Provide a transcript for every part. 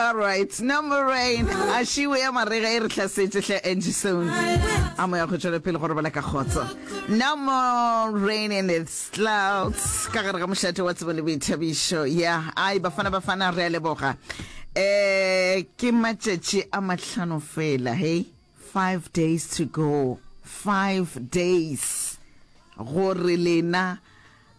All right, no more rain. A šiwe ya marega e re hlasetše hle Angie Sound. A moya go tšwela pele go robala ka kgotso. No more rain in the clouds. Ka gare ga mošate wa tsebo le boithabišo. Ya, ai bafana bafana re a leboga. Eh ke matšatši a mahlano fela, hey. 5 days to go. 5 days. Gore lena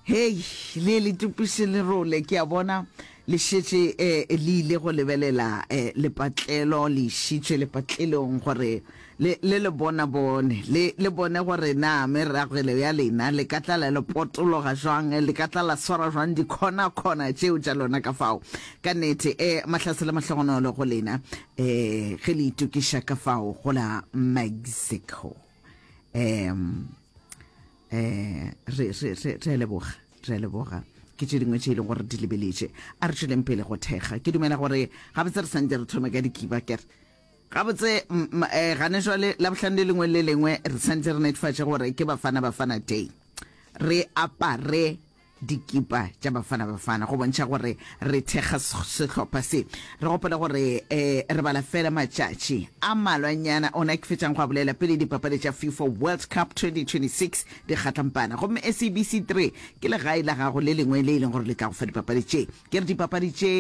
Hei, le le tupiše lerole, ke a bona le šetše eh, le ile go lebelela eh, lepatlelo, le išitšwe lepatlelong gore le le le bona bone, le le bone gore na meragelo ya lena le ka tla la le potologa jwang, le ka tla la swara jwang dikhona-khona tšeo tša lona ka fao. Ka nnete, eh, mahlatse le mahlogonolo go lena eh, ge le itokiša ka fao go la Mexico. Um, um re, re, re, re a leboga, re a leboga. Ke tše dingwe tše e leng gore di lebeletše. A re tšweleng pele go thekga. Ke dumela gore gabotse re santse re thome ka dikiba kere. Gabotse eh, gane jwale Labohlano le lengwe le lengwe re santse re netefatše gore ke Bafana Bafana Day. Re apare dikipa tša Bafana Bafana go bontšha gore re thekga sehlopha se. Re gopole gore um re bala fela matšatši a malwanyana ona ke fetšang go a bolela pele dipapadi tša FIFA World Cup 2026 di kgatlampana, gomme SABC 3 ke legae la gago le lengwe le e leng gore le tla go fa dipapadi tše. Ke re dipapadi tše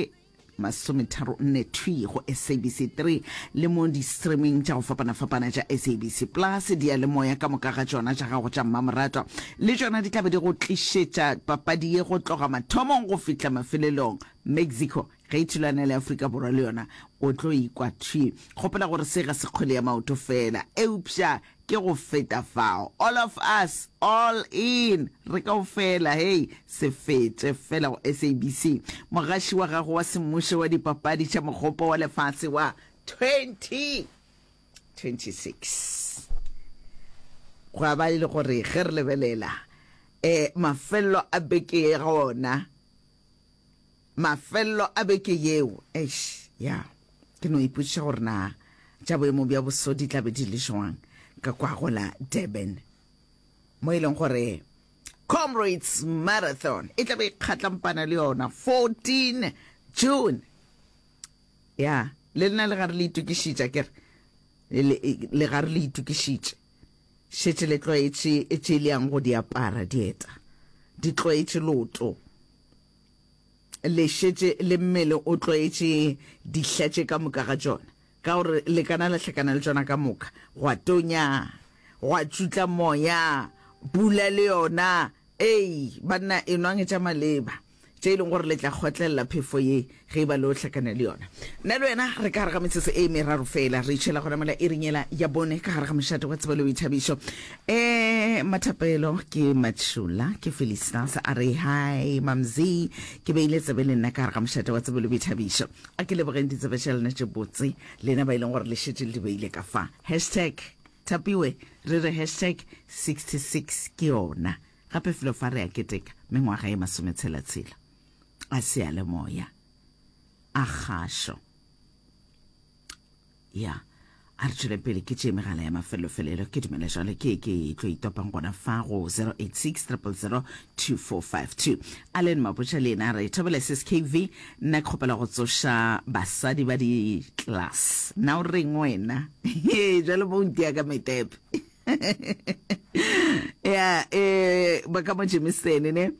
34 thwi go SABC 3 le mo di-streaming tša go fapana-fapana tša SABC Plus, diyalemoya ka moka ga tšona tša gago tša mmamoratwa le tšona di tla be di go tlišetša papadi ye go tloga mathomong go fihla mafelelong. Mexico ge e thulana le Afrika Borwa le yona o tlo ikwa thwi. Gopola gore se ga se kgwele ya maoto feela, eupša Ke go feta fao. All of us, all in, re kaofela, hei, se fete fela go SABC, mogaši wa gago wa semmušo wa dipapadi tša Mogopo wa Lefase wa 2026. Gwa ba e le gore ge re lebelela eh, mafelelo a beke ye gona, Mafelelo a beke yeo, eish, ya, ke no ipotšiša gore na tša boemo bja boso di tla be di le jwang ka kwa go la Durban, mo e leng gore Comrades Marathon e tla be e kgatlampana le yona 14 June. Ya, le lena le gare le itokišitše, akere? Le, le gare le itokišitše. Šetše le tlwaetše tše le yang go di apara, dieta. Di tlwaetše loto. Le šetše le mmele o tlwaetše dihla tše ka moka ga tšona, ka gore le kana la hlakana le tšona ka moka. Gwa tonya, gwa tšutla moya, pula le yona. Ei, banna, enwang tša maleba, tše e leng gore le tla kgotlelela phefo ye ge e ba le o hlakana le yona. Nna le wena re ka gare ga metsotso e meraro fela, re itšhela gona mola iring yela ya bone ka gare ga mošate wa tsebo le boithabišo. E, Mathapelo ke Matšhola, ke Felistas a re hi Mamzi, ke beile tsebe le nna ka gare ga mošate wa tsebo le boithabišo. A ke lebogeng ditsebe tša lena tše botse, lena ba e leng gore le šetše le di beile ka fa. Hashtag Thapiwe, re re hashtag 66 ke yona. Gape felo fa re a keteka mengwaga e masometshela-tshela a seyalemoya a kgašo. Ya, a re tšwele pele ke tše megala ya mafelofelelo. Ke dumela jwale ke ke tlo itopang gona fa go 086 000 2452. Allen Mabotja le yena a re thobela SSKV, nna ke kgopela go tsoša basadi ba di-class. Na o reng wena? Jwale mo o ntia ka metepe. Ya, eh, ba ka mo Germiston ne?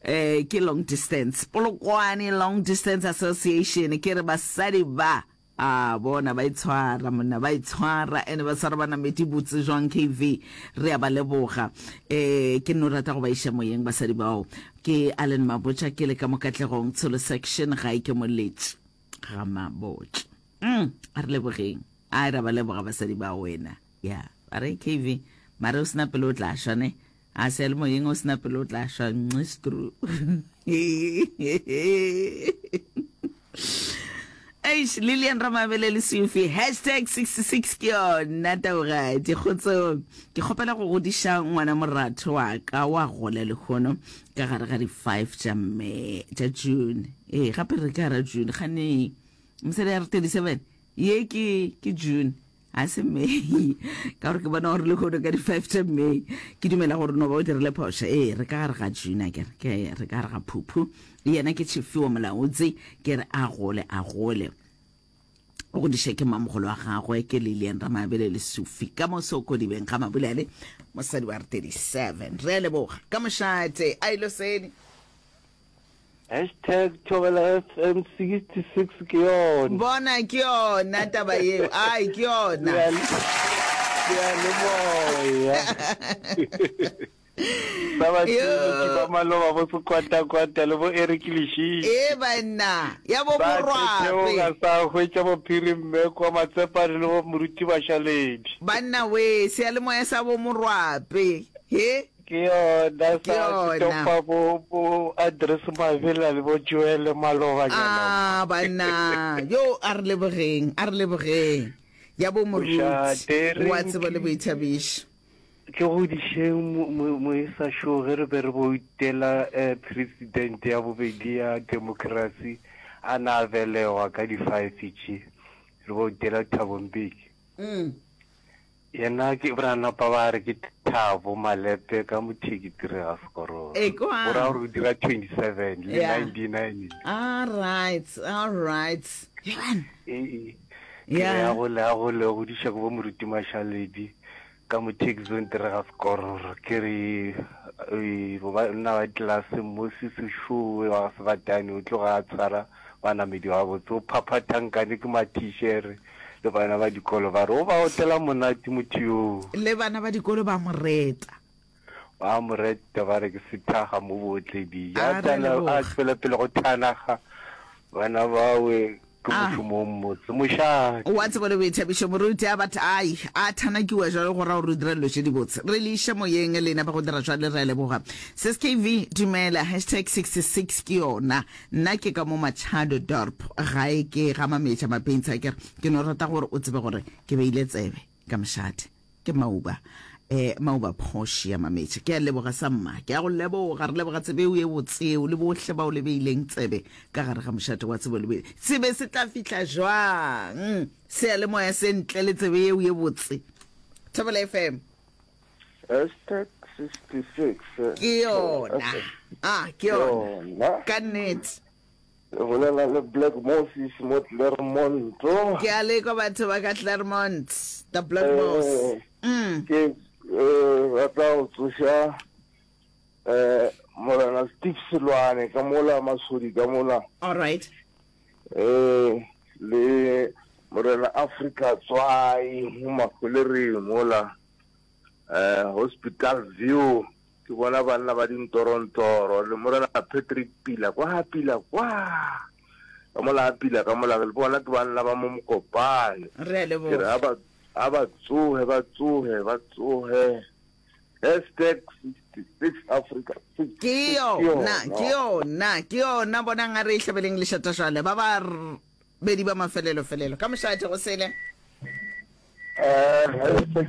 Eh, ke long distance. Polokwane Long Distance Association, ke re basadi ba A bona ba itshwara monna, ba itshwara ene ba tshwara banamedi botse jwang KV, re a ba leboga. Eh ke nno rata go ba iša moyeng basadi bao. Ke Allen Mabotja ke le ka mo Katlegong Tsholo section gae ke Moletši ga Mabotja. Mm, a re lebogeng. A re ba leboga basadi bao wena. Ya, ba re KV, mare o sena pelo o tla shwa ne. A seyalemoyeng o sena pelo o tla šwa nxistru. Eish, Lilian Ramabele le Sufi, hashtag 66 ke yona taugadi. Kgotsong, ke kgopela go godiša ngwana moratho wa ka wa gola lehono ka gare ga di 5 tša May, tša June. Ee, gape re ka gara June, gane mosadi ya re 37, ye ke ke June. Ga se May, ka gore ke bona gore lehono ka di-five tša May, ke dumela gore no ba o dirile phošo. Ee, re ka gare ga June, akere, ke re ka gare ga phuphu. Yena ke Tšhifiwa Molaotsi, ke re a gole, a gole. O godiše ke mamogolo wa gagwe ke Lilian Ramabele Lesufi ka mo Sokodibeng ga Mabulele, mosadi wa 37. Re a leboga ka mošate a ilo sedi. Hashtag Thobela FM 66 ke yona. Bona ke yona taba yeo. Ai ke yona. Seyalemoya. Sa batheeletši ba maloba bo Sekwatakwata le bo Eric Lešitši. Ee banna, ya bo Ba Morwape. theoga sa hwetša bo Phiri Mmekwa, Matsepane le bo Moruti Bašaledi. Banna wee, seyalemoya sa bo Morwape. He? Ke yona Ke sa yona. topa bo bo Andres Mabela le bo Joel malobanyana mo. Ah banna, yo a re lebogeng, a re lebogeng. Ya bo Moruti Mošate wa tsebo le Renki. boithabišo. Ke godišeng moisa šo ge re be re boutela president ya bobedi ya democracy a na a belegwa ka di five tše re boutela Thabo Mbeki. Yena ke ba napa ba re ke Thabo Malepe ka motheki tire ga sekororo. Ekwa. Go ra gore o dira 27 le Yeah. 99. All right, all right. Yeban. Ee. Ke re Yeah. a gole a gole godiša ke bo moruti Mashaledi. Ka mo Tucson tere ga sekororo ke re banna ba tlelase Moses Šowe wa ga Sebatane o tloga a tshwara banamedi gabotse o phaphatha nkane ke mathišere le bana ba dikolo ba re o ba otela monate motho yoo. Le bana ba dikolo ba mo reta. Ba mo reta ba re ke sethaga mo bootleding. A A re tana a leboga. tšwela pele go thanaga bana bawe. Ke A. mošomo o mmotse, mošate. Wa tsebo le boithabišo, moruti a batho ai a thanakiwa jwalo go ra gore o dira dilo tše dibotse. Re le iša moyeng lena ba go dira jwale re a leboga. Sis KV dumela hashtag 66 ke yona. Nna ke ka mo Machado Dorp gae ke ga Mametša Mapintsha ke re ke no rata gore o tsebe gore ke beile tsebe ka mošate. Ke Mauba. Eh, Mauba Portia Mametša. Ke a leboga sa mma. Ke a go leboga. Re leboga tsebe eo ye botse eo le bohle bao le beileng tsebe ka gare ga mošate wa tsebo le boe. Sebe se tla fihla jwang seyalemoya se ntle le tsebe yeo ye botse? Thobela FM. Hashtag 66. Ke yona. Ah, ke yona. Ka nnete. Le bolela le Black Moses mo Claremont. Ke a lekwa batho ba ka Claremont, the Black Mos. Eh, Mm. Ke eh, rata go tsoša eh, Morena Steve Selwane ka mola Masodi ka mola All right. eh, le Morena Africa Tswai mo Mafolereng mola eh, Hospital View. Ke bona banna ba dintorontoro le Morena Patrick Pila kwa Pila kwa ka mola a Pila ka mola le bona ke banna ba mo Mokopane. Re a Ke re leboga. a ba a ba tsoge ba tsoge ba tsoge. Hashtag 66 Africa Ke 66 ke yona, ke yona. yona, ke yona. Bonang a re e hlabeleng lešata jwale. Ba ba bedi ba mafelelo felelo. Ka mošate go sele. Eh, hashtag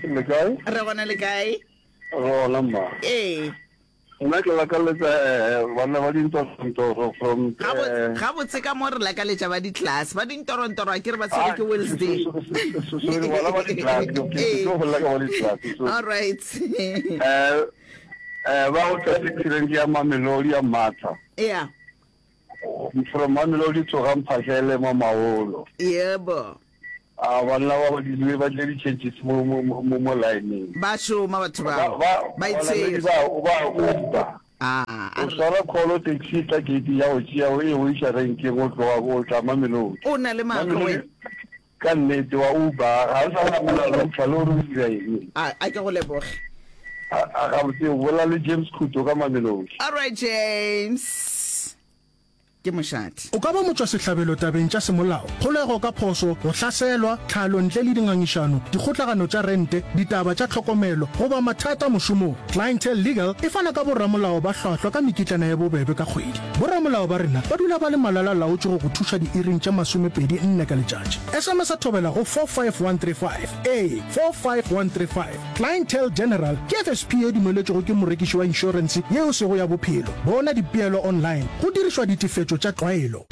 66 le kae? Re gona le kae? Re gona mma. Ee. Nna ke lakaletsa eh, banna ba dintorontoro from eh, Gabotse ka mo re lakaletša ba di-class ba dintorontoro a ke re ba tshwere ke Wednesday. Sorry, bona ba di-class ke ke tlo bolela ka ba di-class sorry. All right. Eh, eh, ba go tla accident ya Mamelodi ya Martha. Yeah. From Mamelodi tsoga Mphahlele mo Maolo. Yebo. A banna ba ba dirile ba tle di-changes mo mo mo mo line-eng. Ba šoma batho Ba bao. ba Ba banamedi itshwere. ba o ba uba. Ah, a O re swara call taxi e tla gate ya go tšea o e go iša renkeng o tloga o tla Mamelodi. o na le maaka Mamelodi wena. ka nnete wa uba ga o sa namela router le gore o dira eng. A a ke go leboge. A a gabotse o bolela le James Khuto ka Mamelodi. All right James. Ke mošate. O ka ba motšwasehlabelo tabeng tša semolao, kgolego ka phošo, go hlaselwa, tlhalo ntle le dingangišano, dikgotlagano tša rente, ditaba tša tlhokomelo, goba mathata mošomong. Clientele Legal e fana ka boramolao ba hlwahlwa ka mekitlana ye bobebe ka kgwedi. Boramolao ba rena ba dula ba le malala-laotšwe go go thuša diiring tše masomepedi nne ka letšatši. SMS-a thobela go 45135. Ee, 45135. Clientele General ke FSP ye dumeletšwego ke morekiši wa inšorense ye e sego ya bophelo. Bona dipeelo online go dirišwa ditefetšo tša tlwaelo.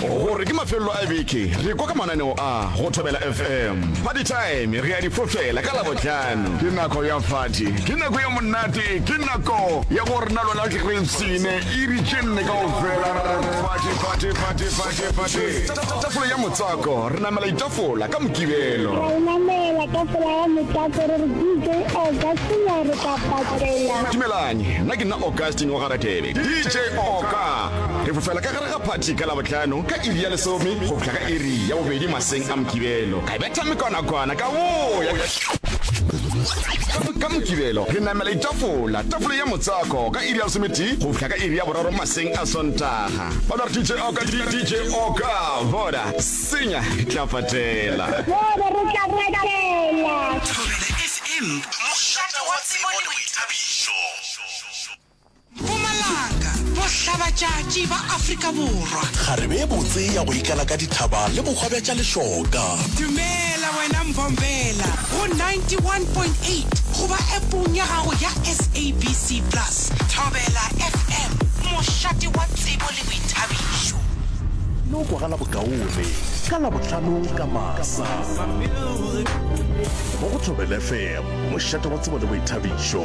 Gore ke mafelelo a beke, re kwa ka mananeo a go Thobela FM. Party time re a di fofela ka Labohlano. Ke nako ya party, ke nako ya monate, ke nako ya gore na lona re ipshine iri tše nne kaofela re party, party, party, party, party. Tafola ya motswako, re namela ditafola ka Mokibelo. Ra e namela tafola ya motswako re re DJ Augustine re tla patela. Dumelang, nna ke nna Augustine wa ga Radebe, DJ Oka. Re fofela ka gare ga phathi ka Labohlano ka iri ya lesome go fihla ka iri ya bobedi maseng a Mokibelo. Ka betha mekwanakwana ka boya. Ka Mokibelo re namela ditafola, tafola ya motswako ka iri ya lesometee go fihla ka iri ya boraro maseng a Sontaga. Ba no re DJ Oka, DJ Oka, bona, senya, re tla patela. Bona, re tla patela. Thobela FM, mošate wa tsebo le boithabišo. Mpumalanga, bohlabatšatši ba Afrika Borwa. Kgarebe ye botse ya go ikala ka dithaba le bohwa bja tša lešoka. Dumela wena Mbombela go 91.8 goba appong ya gago ya SABC Plus. Thobela FM, mošate wa tsebo le boithabišo. No kwagala bokaone ka Labohlano ka masa mo go Thobela FM, mošate wa tsebo le boithabišo.